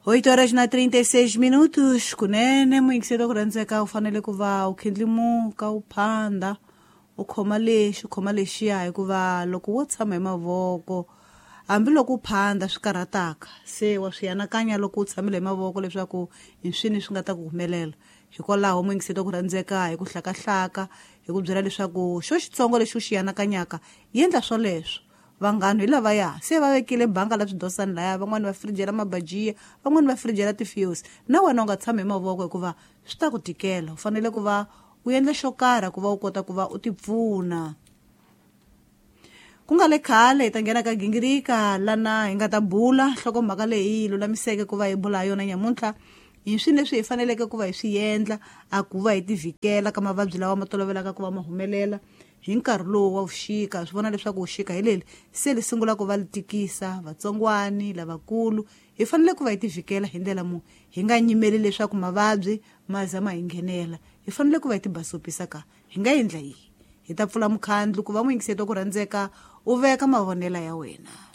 8 horas na 36 minutos. Kunene muyingiseri wa ku rhandzeka, u fanele ku va u khindlimuka, u phanda, u khoma lexi, u khoma lexiya, hikuva loko wo tshama hi mavoko, hambiloko u phanda swi karhataka, se wa swi anakanya loko u tshamile hi mavoko leswaku hi swini swi nga ta ku humelela. Hikwalaho, muyingiseri wa ku rhandzeka, hi ku hlakahlaka hi ku byela leswaku xo xitsongo lexi u xi anakanyaka, endla swoleswo. Vanghano hi lavaya se va vekile banga la swidosani laya, van'wani va firijela mabajiya, van'wani va firijela ti-fuse. Na wena u nga tshami hi mavoko, hikuva swi ta ku tikela. U fanele ku va u endla xo karhi ku va u kota ku va u tipfuna. Ku nga le khale hi ta nghena ka gingirika lana hi nga ta bula nhlokomhaka leyi hi lulamiseke ku va hi bula ha yona nyamuntlha, hi swini leswi hi faneleke ku va hi swi endla a ku va hi tivhikela ka mavabyi lawa ma tolovelaka ku va ma humelela hi nkarhi lowu wa vuxika. Swi vona leswaku vuxika hi leli se li sungula ku va li tikisa vatsongwani lavakulu. Hi fanele ku va hi tivhikela hi ndlela mu hi nga nyimeli leswaku mavabyi ma za ma hi nghenela. Hi fanele ku va hi tibasopisa ka hi nga endla yihi? Hi ta pfula mukhandlu ku va muyingiseti wa ku rhandzeka u veka mavonela ya wena.